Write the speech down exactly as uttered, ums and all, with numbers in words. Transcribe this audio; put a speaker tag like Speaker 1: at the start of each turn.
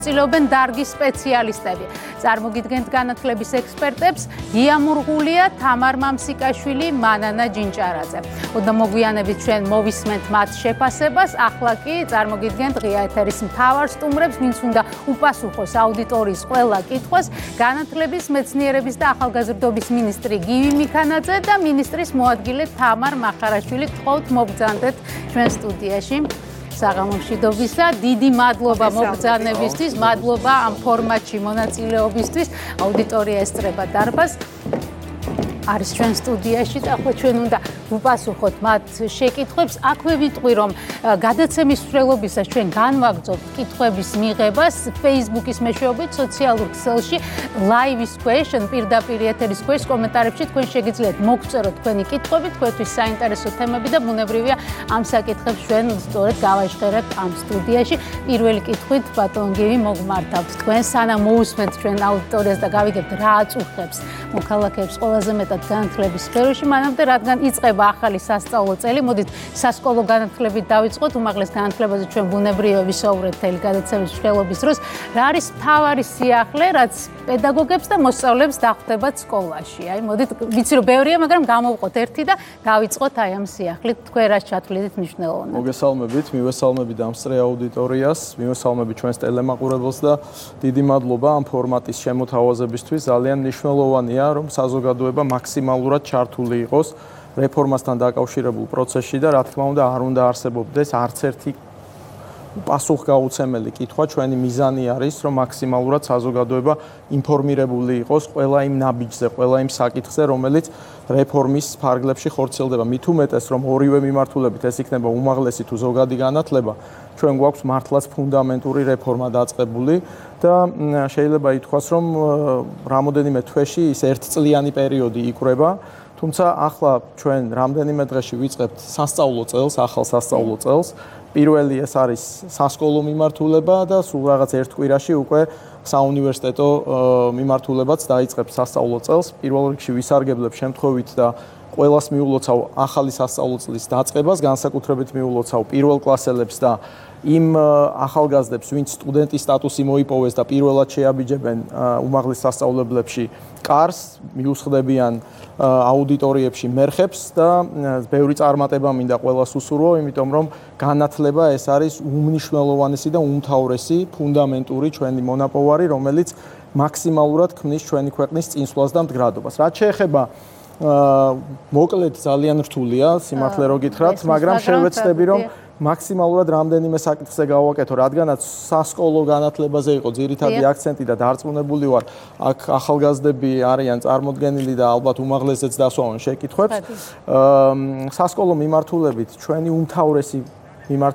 Speaker 1: ცდილობენ დარგის სპეციალისტები. წარმოგიდგენთ განათლების ექსპერტებს გიამურღულია, თამარ მამსიკაშვილი, მანანა ჯინჭარაძე. ოდნა მოგვიანებით ჩვენ მოვისმენთ მათ შეფასებას, ახლა კი წარმოგიდგენთ ღია ეთერის მთავარ სტუმრებს, ვინც უნდა უპასუხოს აუდიტორიის ყველა კითხვას, განათლების, მეცნიერების და ახალგაზრდობის მინისტრი გივი მიქანაძე და მინისტრის მოადგილე თამარ მახარაშვილი. გთხოვთ მოგბრძანდეთ ჩვენ სტუდიაში. საღამომშვიდობისა, დიდი მადლობა მოგბრძანებისთვის, მადლობა ამ ფორმატში მონაწილეობისთვის. აუდიტორია ესწრება დარბაზს. არის ჩვენ სტუდიაში და ახლა ჩვენ უნდა ვუპასუხოთ მათ შეკითხვებს. აქვე ვიტყვი, რომ გადაცემის მსვლელობისას ჩვენ განვაგრძობთ კითხვების მიღებას Facebook-ის მეშვეობით სოციალურ ქსელში live-ის ქვეშ, პირდაპირ ეთერის ქვეშ კომენტარებში თქვენ შეგიძლიათ მოგწეროთ თქვენი კითხვები, თქვენთვის საინტერესო თემები და ბუნებრივია ამ საკითხებს ჩვენ სწორედ გავაჟღერებთ ამ სტუდიაში. პირველი კითხვით ბატონ გივი მოგმართავთ თქვენ, სანამ მოусმენთ ჩვენ აუდიტორიას და გავიგებთ რა აწუხებს მოქალაქეებს ყველაზე მეტად განათლების სფეროში, მანამდე რადგან იწყება ახალი სასწავლო წელი, მოდით სასკოლო განათლებით დავიწყოთ, უმაღლეს განათლებაზე ჩვენ ბუნებრივია ვისაუბრეთ მთელი გადაცემის მსვლელობის დროს. რა არის მთავარი სიახლე, რაც პედაგოგებს და მოსწავლეებს დახვდებათ სკოლაში? აი, მოდით, ვიცი რომ ბევრია, მაგრამ გამოვყოთ ერთი და დავიწყოთ აი ამ სიახლით. თქვენ რაც ჩათვლით მნიშვნელოვნად.
Speaker 2: მოგესალმებით, მივესალმებით დამსწრე აუდიტორიას, მივესალმებით ჩვენს ტელემაყურებელს და დიდი მადლობა ამ ფორმატის შემოთავაზებისთვის. ძალიან მნიშვნელოვანია, რომ საზოგადოება მაქსიმალურად ჩართული იყოს რეფორმასთან დაკავშირებულ პროცესში და რა თქმა უნდა არ უნდა არსებობდეს არც ერთი პასუხგაუცემელი კითხვა. ჩვენი მიზანი არის, რომ მაქსიმალურად საზოგადოება ინფორმირებული იყოს ყველა იმ ნაბიჯზე, ყველა იმ საკითხზე, რომელიც რეფორმის ფარგლებში ხორციელდება. მით უმეტეს, რომ ორივე მიმართულებით ეს იქნება უმაღლესი თუ ზოგადი განათლება, ჩვენ გვაქვს მართლაც ფუნდამენტური რეფორმა დაწყებული და შეიძლება ითქვას, რომ რამოდენიმე თვეში ის ერთწლიანი პერიოდი იკვრება. თუმცა ახლა ჩვენ რამდენიმე დღეში ვიწყებთ სასწავლო წელს, ახალ სასწავლო წელს. პირველი ეს არის სასკოლო მიმართულება და სულ რაღაც ერთ კვირაში უკვე საუნივერსიტეტო მიმართულებაც დაიწყებს სასწავლო წელს. პირველ რიგში ვისარგებლებ შემთხვევით და ყველას მიულოცავ ახალი სასწავლო წლის დაწყებას, განსაკუთრებით მიულოცავ პირველ კლასელებს და იმ ახალგაზრდებს, ვინც სტუდენტის სტატუსი მოიპოვეს და პირველად შეაბიჯებენ უმაღლეს სასწავლებლებში კარს, მიუსხდებიან აუდიტორიებში მერხებს და ბევრი წარმატება მინდა ყველას უსურვო, იმიტომ რომ განათლება ეს არის უმნიშვნელოვანესი და უმთავრესი ფუნდამენტური ჩვენი მონაპოვარი, რომელიც მაქსიმალურად ქმნის ჩვენი ქვეყნის წინსვლას და მდგრადობას. რაც შეეხება მოკლედ ძალიან რთულია, სიმართლე რო გითხრათ, მაგრამ შევეცდები რომ მაქსიმალურად რამდენიმე საკითხზე გავაკეთო, რადგანაც სასკოლო განათლებაზე იყო ძირითადი აქცენტი და დარწმუნებული ვარ, აქ ახალგაზრდები არიან წარმოდგენილი და ალბათ უმაღლესიც დასვამენ შეკითხვებს. სასკოლო მიმართულებით ჩვენი უმთავრესი მიმართულება